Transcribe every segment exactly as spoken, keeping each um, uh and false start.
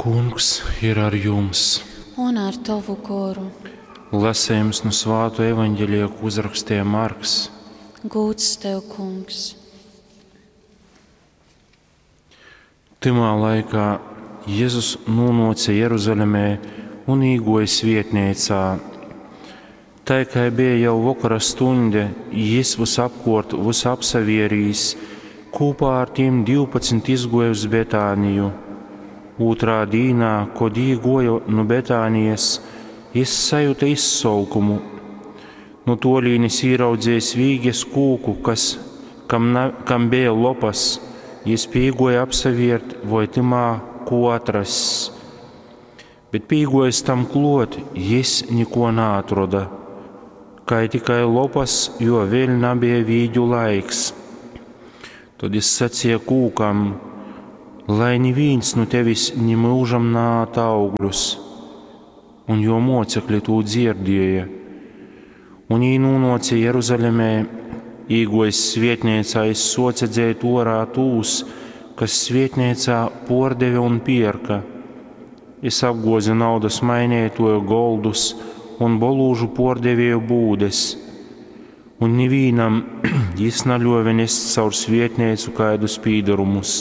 Kungs ir ar jums! Un ar tovu goru. Lasējums nu svāto evaņģelija, ko uzrakstīja Marks. Gūds tev, Kungs! Tymā laikā Jēzus nonāca Jeruzalemē un īgoja svietnīcā. Tai kā bija jau vakara stunde, jis visapkort visu apsavierīs, kopā ar tiem divpadsmit izgoja uz Betāniju. Otrā dīnā, kod īgoja no Betānijas, jis sajuta izsolkumu. No tolīnes īraudzējis vīges kūku, kas, kam, na, kam bija lopas, jis pīgoja apsaviert, voi timā ko atrass. Bet pīgojis tam klot, jis niko naatroda, kai tikai lopas, jo vēl nebija vīģu laiks. Tad jis sacīja kūkam, lai neviens nu tevis ni mūžam nāta augļus. Un jo mocekļi tū dzirdēja. Un jī nonāca Jeruzalemē, īgojis svietnīcā, jis soca dzēt orā tūs, kas svietnīcā pordeve un pierka. Jis apgoza naudas mainītoju goldus un bolūžu pordevēju būdes. Un nevienam jis naļuove nest caur svietnīcu kaidus pīdarumus.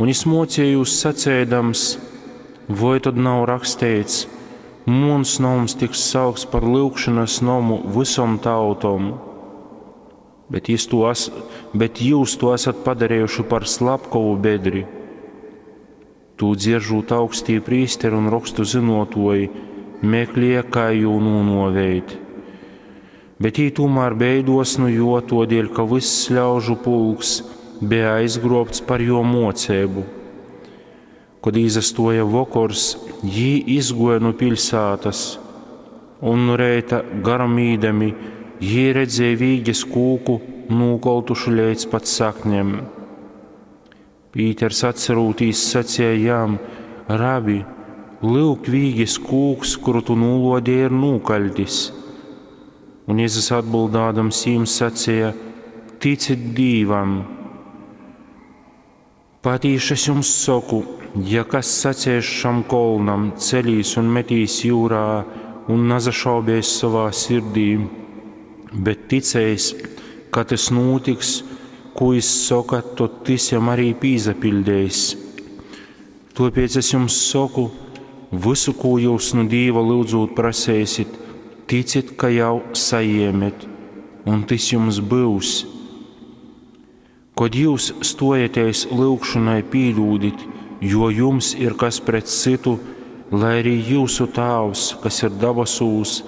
Un jis mocīja jūs sacēdams, voi tad nav rakstīts, muns noms tiks saukts par lyugšanas nomu visom tautom, bet, jis to as, bet jūs to esat padarījuši par slepkavu bedri. Tū dzieržūt augstī prīsteri un rakstu zinotoji, meklēja, kā jū nūnoveit. Bet jī tomēr beidos nu jo, todēļ, ka viss ļaužu pulks bija aizgrobts par jo mocību. Kad izastoja vakars, jī izgoja no pilsētas, un nu reita garam īdami, jī redzēja vīges kūku nūkoltušu līdz pat saknēm. Pīters atcerūtīs sacīja jam, Rabi, lūk vīges kūks, kuru tu nūlodēji, ir nūkaļtis. Un Jēzus atbildādams jīm sacīja, ticit Dīvam. Patīši es jums saku, ja kas sacēs šam kolnam, celīs un metīs jūrā un nazašaubēs savā sirdī, bet ticēs, ka tas notiks, ko jis saka, tad tas jam arī pīzapildēs. Tāpēc es jums saku, visu, ko jūs nu Dīva lūdzot prasēsit, ticit, ka jau sajēmet, un tas jums būs. Kad jūs stojaties lūgšanai, pīdūdit, jo jums ir kas pret citu, lai arī jūsu Tēvs, kas ir dabasūs,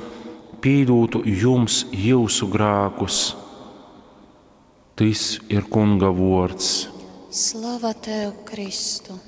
pīdūtu jums jūsu grēkus. Tis ir Kunga vārds. Slava tev, Kristu!